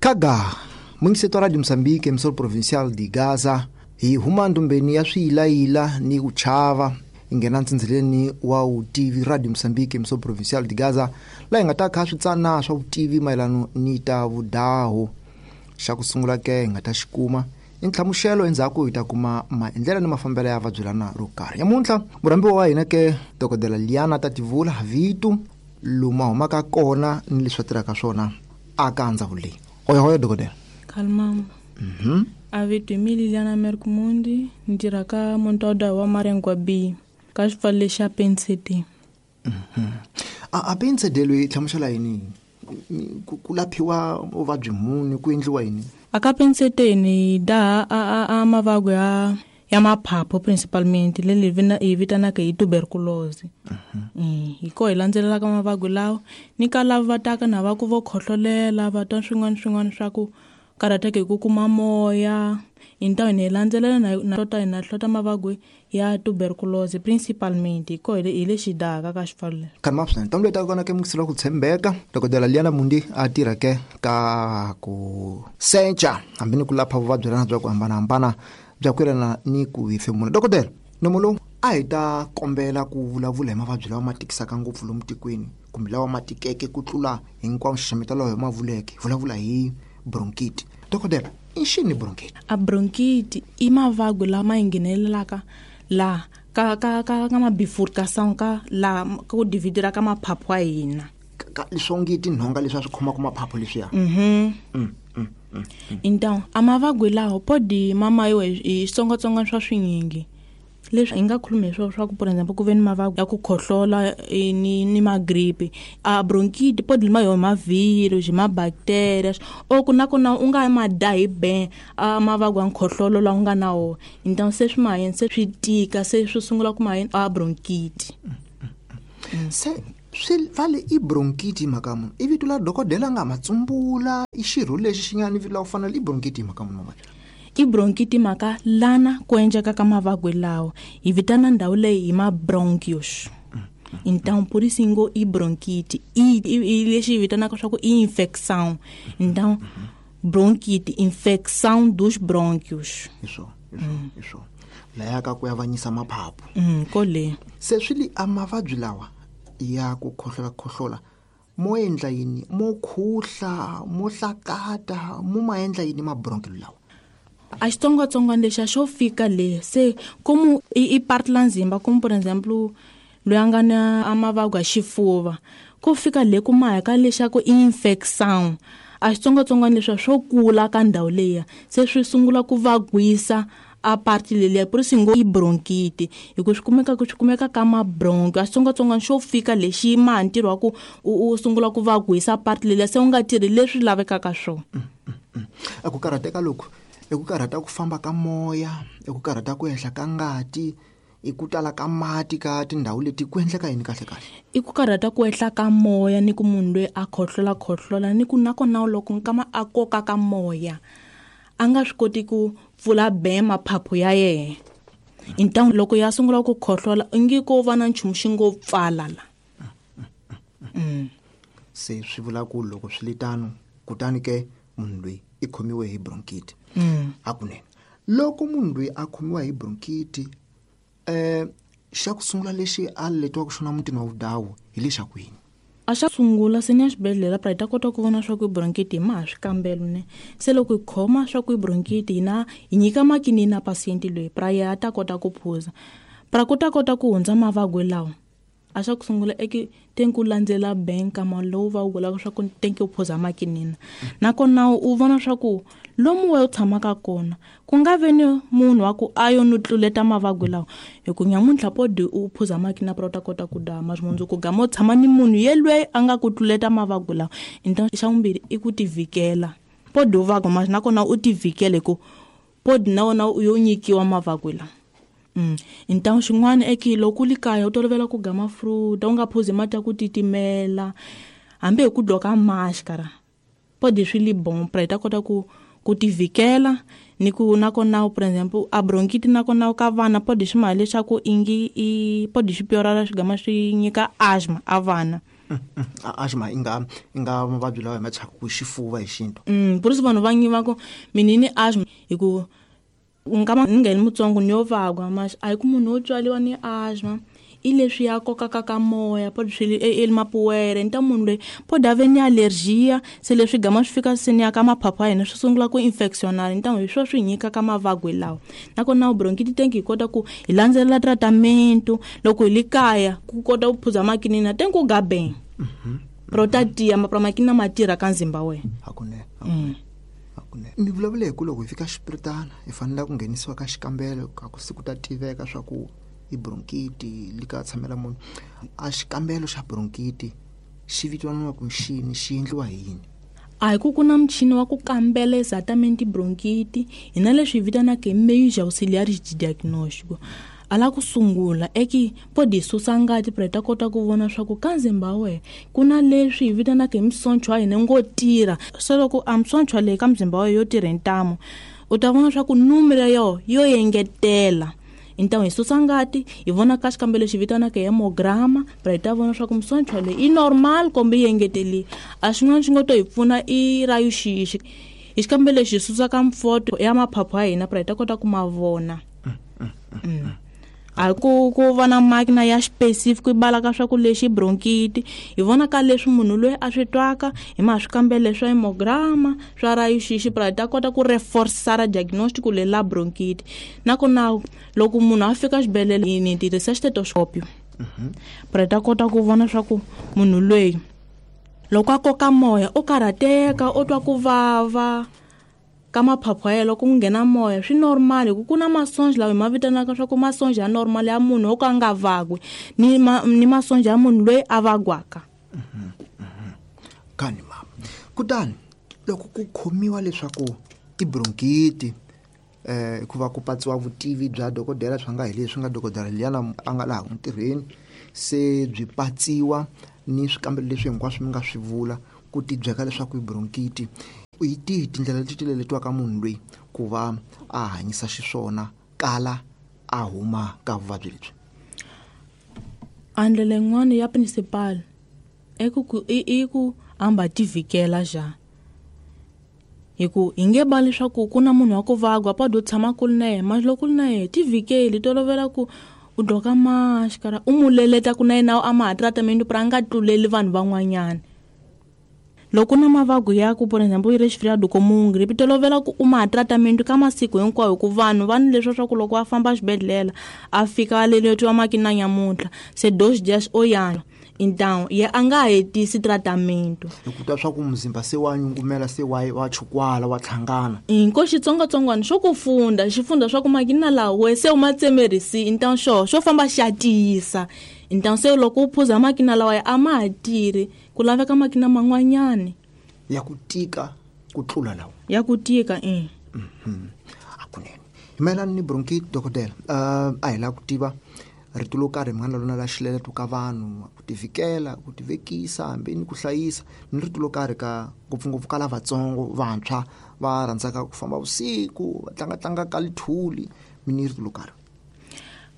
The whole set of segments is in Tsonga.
Kaga mungiseto wa Radio Mozambique emissora provincial de Gaza hi huma ndumbeni ya swiyilayila ni ku chava hi nghena ntsindzeleni wa vutivi Radio Mozambique emissora provincial de Gaza laha hi nga ta kha swi tsana swa vutivi mayelano ni ta vudahu. Xa ku sungula ke hi nga ta xi kuma i ntlhamuxelo, endzhaku hi ta kuma maendlelo ni mafambelo ya vabyelana ro karhi. Nyamuntlha murhambiwa wa hina ke dokodela Liana Tativula Vitu lomu a humaka kona ni leswi a tirhaka swona aka ndzawulo leyi. Hoyohoyo dokodela. Kalmamba. A vito hi mi Liliana Merkmundi, ni tirha ka Montauda wa Marengwa B ka xipfalo lexi xa Pensete. A Pensete loyi hlamusela yini? Ku laphiwa vuvabyi muni, ku endliwa yini? A ka Pensete ni daha a mavabyi ya maphaphu principalmente leyi hi vitanaka hi tuberculosis. Hi ko hi landzelelaka mavabyi lawa ni ka lava va taka na va ku vo khohlolela va twa swin'wana swin'wana swa ku karhateka hi ku kuma moya. Hi ntamu hi landzelela na hlota hi na hlota mavabyi ya tuberculosis principalmente hi ko hi le xidaka ka xipfalo lexi. Kha ma swinene ntamu leyi taka kona ke mukisela ku tshembeka dokodela Liana Mundi a tirha ke ka ku secha hambi ni ku lapha vuvabyi lana bya ku hambanahambana bya ku yelana ni ku hefemula. Dokodela, nomo lowu a hi ta kombela ku vulavula hi mavabyi lawa ma tikisaka ngopfu lomu tikweni kumbe lawa ma tikeke ku tlula hinkwawo nxaxameta lawa hi ma vuleke, hi vulavula hi bronchite. Dokodela, i xini bronchite? A bronchite i mavabyi lama yi nghenelelaka laha ka mabifurcation ka laha ka ku dividira ka maphaphu ya hina. Ka leswi onge tinhonga leswi a swi khomaka maphaphu leswiya. Então, a mavabyi lawa podi mama yo hi xitsongwatsongwana swa swinyingi. Leswi hi nga khulumi hi swona swa ku, for example, ku ve ni mavabyi ya ku khohlola ni magripi. A bronchite podi lima yo ma-virus, hi ma-bacteria. O ku na kona u nga ma dya hi ben a mavabyi ya nkhohlolo lawa u nga na wona. Então se swi mahayeni se swi tika, se swi sungula ku mahayeni a bronchite. Se swi vale i bronchite hi mhaka munhu. I vito la dokodela nga ma tsumbula, i xirho lexi xi nga ni vito la ku fana i bronchite hi mhaka munhu mavabyi. I bronchite mhaka lana ku endleka ka mavabyi lawa hi vitana ndhawu leyi hi ma bronchios. Então por isso ngo i bronchite i lexi hi vitanaka swa ku i infection. Então bronchite infection dos bronquios. Hi swona, hi swona, hi swona. Laya ka ku avanyisa maphaphu. Kole. Se swi li a mavabyi lawa ya ku khohlola khohlola mo endla yini? Mo khuhla, mo hlakata, mo ma endla yini mabronchio lawa? A xitsongwatsongwana lexi a xo fika le se komu i part la nzimba, komu por exemple loyi a nga na a mavabyi ya xifuva ku fika le ku maha ka lexaku i infection. A xitsongwatsongwana leswiya swo kula ka ndhawu leyiya se swi sungula ku vagwisa a part leliya, por isso ngo i bronchite hi ku swi kumeka ka mabronchio. A xitsongwatsongwana xo fika lexi maha ntirho wa ku u sungula ku vagwisa part leliya se u nga tirhi leswi lavekaka swona. A ku karhateka loku i ku karhata ku famba ka moya, i ku karhata ku ehla ka ngati, i ku tala ka mati ka tindhawu leti, ku endleka yini kahle kahle? I ku karhata ku ehla ka moya ni ku munhu loyi a khohlola khohlola ni ku nakona loko nkama a koka ka moya a nga swi koti ku pfula be maphaphu ya yena. Então loko ya sungula ku khohlola ingi ko va na nchumu xi ngo pfala la. Se swi vula ku loko swi li tano kutani ke munhu loyi i khomiwe hi bronchite. Hakunene loko munhu loyi a khomiwa hi bronchite, xa ku sungula lexi a letiwaka xona mutini wa vudawu hi lexaku yini? A xa sungula se ni ya xibedhlele pra hi ta kota ku vona swa ku i bronchite hi maha swikambelo ne. Se loko hi khoma swa ku i bronchite hina hi nyika makinini na patiente loyi pra yena a ta kota ku phuza. Pra ku ta kota ku hundza mavabyi lawa. A xa ku sungula i ku teng ku landzela bank kama lowu va wu vulaka swa ku teng ku phuza makinini. Nakona u vona swa ku lomu we u tshamaka kona ku nga ve ni munhu wa ku a yo no tluleta mavabyi lawa, hi ku nyamuntlha podi u phuza makinini pra u ta kota ku dya mara mundzuku gama u tshama ni munhu yelweyo a nga ku tluleta mavabyi lawa. Então xa vumbirhi i ku tivhikela. Podi u vabya mara nakona u tivhikela hi ku podi na wona u yo nyikiwa mavabyi lawa. Então xin'wana i ku loko u li kaya u tolovela ku gama fruit, u nga phuzi mati ya ku titimela hambi hi ku dloka maskara podi swi li bon pra hi ta kota ku tivhikela ni ku nakona por exemple a bronchite nakona ka vana podi swi maha leswaku ingi i podi swi piorara swi gama swi nyika asthma a vana. Asthma i nga mavabyi lawa hi ma thyaka ku xifuva hi xintu. Por isso vanhu va nyiva ku mina ni asthma hi ku nkama ni nga ni mutsongo ni yo vagwa mas a hi ku munhu wo tswaliwa ni asthma i leswi ya kokaka ka moya po swi e mapuwere ni ta munhu loyi po dave ni allergia se leswi gama swi fika se ni ya ka maphaphu ya hina swi sungula ku infectionala ni ta hi swo swi nyika ka mavagwe lawa. Nakona bronchitis tank hi kota ku hi landzelela tratamento loko hi le kaya ku kota ku phuza makinina tenk u gabeng protatiya makinina ma tirha ka nzimba wena. Hakunene. Mi vulavule hi ku loko hi fika xipiritana hi fanele ku nghenisiwa ka xikambelo ka ku siku ta tiveka swa ku i bronchiti li ka tshamela munhu. A xikambelo xa bronchiti xi vitaniwa ku xini, xi endliwa hi yini? A hi ku ku na muchini wa ku kambela exatamente bronchiti hi na leswi hi vitanaka hi major auxiliary diagnóstico. A la ku sungula eki podi susa ngati pra ta kota ku vona swa ku ka nzimba we ku na leswi hi vitanaka hi misoncho ya hina ngo tirha. Se loko a misoncho leyi ka mzimba wa yo tirha ntamu u ta vona swa ku numero yo engetela. Então hi susa ngati hi vona ka xikambelo lexi vitanaka hemograma pra hi ta vona swa ku misoncho leyi i normal kumbe yi engeteli. A xin'wana xi nga to hi pfuna i rayuxixi hi xikambelo lexi hi susa ka mfoto ya maphaphu ya hina pra hi ta kota ku ma vona. A ku va na makina ya specific ku bala ka swa ku lexi bronchiti hi vona ka leswi munhu loyi a swi twaka hi ma swikambelo swa hemograma swa rayuxixi pra hi ta kota ku reforce diagnostic le la bronchiti. Nakona loko munhu a fika xibedhlele ni tirhisa stethoscope pra ta kota ku vona swa ku munhu loyi loko a koka moya o karhateka o twa ku vava ka maphaphu ya yena loko ku nghena moya swi normal hi ku ku na masonja lawa hi ma vitanaka swa ku masonja ya normal ya munhu wo ka a nga vagwi ni masonja ya munhu loyi a vagwaka. Kani mama kutani loko ku khomiwa leswaku i bronchiti hikuva ku patsiwa vutivi bya dokodela swa nga hi leswi nga dokodela liyana a nga laha ntirhweni se byi patsiwa ni swikambelo leswi hinkwaswo mi nga swi vula ku tibyeka leswaku i bronchiti hi tihi tindlela leti ti leletiwaka munhu loyi ku va a hanyisa xiswona kala a huma ka vuvabyi lebyi? A ndlela yin'wana ya principal i ku hamba tivikela ja hi ku hi nge ba leswaku ku na munhu wa ku vagwa pa do tshama ku ri na yena mas loko ku ri na yena tivikeli tolovela ku u doka maxikara u mu leleta ku na yena a ma ha tratamento pra a nga tluleli vanhu van'wanyana. Loko na mavabyi ya ku por exemple resfriado comum gripe tolovela ku u ma tratamento ka masiku hinkwawo ku vanhu va ni leswo swa ku loko va famba xibedhlele a fika a leletiwa makina nyamuntlha se 2 dias o yana então ye a nga hetisi tratamento hi ku twa swa ku muzimba se wa nyungumela se wa chukwala wa tlhangana inko xitsongwatsongwana xo ku funda xi funda swa ku makina lawa se u ma tsemerisi então xo famba xa tiyisa então se loko u phuza makina lawa a ma ha tirhi ku laveka makina man'wanyani ya ku tika ku tlula lawa ya ku tika hakunene. Hi mayelana ni bronchiti dokodela a hi lava ku tiva rito lo karhi mi nga na lona la xileleto ka vanhu ku tivikela ku tivekisa hambi ni ku hlayisa ni rito lo karhi ka ngopfungopfu ka lavatsongo vantshwa va rhandzaka ku famba vusiku va tlangatlanga ka lithuli mi ni rito lo karhi?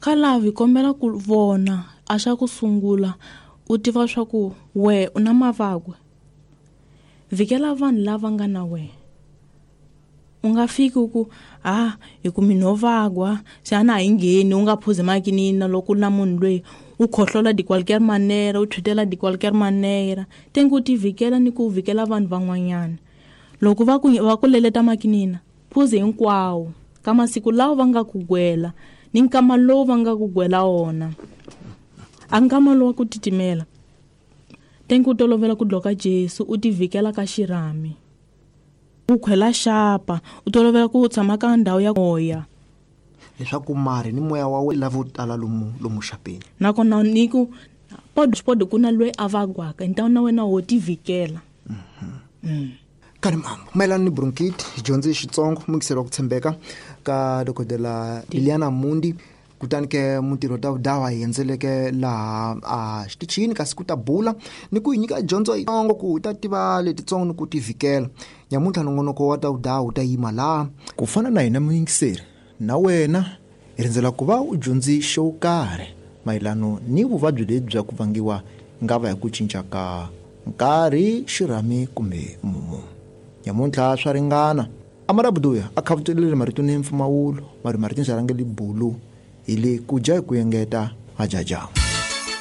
Ka lava hi kombela ku vona a xa ku sungula u tiva swa ku we u na mavagwe vikela vanhu lava nga na wena. U nga fiki ku a hi ku mina ho vagwa xana a yi ngheni u nga phuzi makinina loko na munhu loyi u khohlola de qualquer manera u thwitela de qualquer manera tengi u tivikela ni ku vikela vanhu van'wanyana. Loko va ku leleta makinina phuzi hinkwawo ka masiku lawa va nga ku gwela ni nkama lowu va nga ku gwela wona a nkama lowu wa ku titimela tengi u tolovela ku dloka Jesu u tivikela ka xirhami u khwela xapa u tolovela ku tshama ka ndhawu ya moya leswaku mari ni moya wa wena lavo tala lomu xapeni. Nakona ni ku pod ku na loyi a vagwaka então na wena wo tivikela. Kani mama mayelana ni bronchiti hi dyondze xitsongo muyingiseri wa ku tshembeka ka dokodela Liliana Mundi kutani ke mutirhi wa dawa hi endzeleke laha a xitichini kasi ku ta bula ni ku hi nyika dyondzo yitsongo ku hi ta tiva letitsongo ni ku tivikela. Nyamuntlha nongonoko wa ta wu ta yima laha ku fana na hina muyingiseri na wena hi rindzela ku va u dyondzi xo karhi mayelano ni vuvabyi lebyi bya ku vangiwa Nga va hi ku cinca ka nkarhi, xirhami kumbe mumu. Nyamuntlha swa ringana. Amarabuduya a khavutelile marito ni mpfumawulo, mari marito ndzi rhangeli bulu hi le ku dya hi ku engeta, hajaja.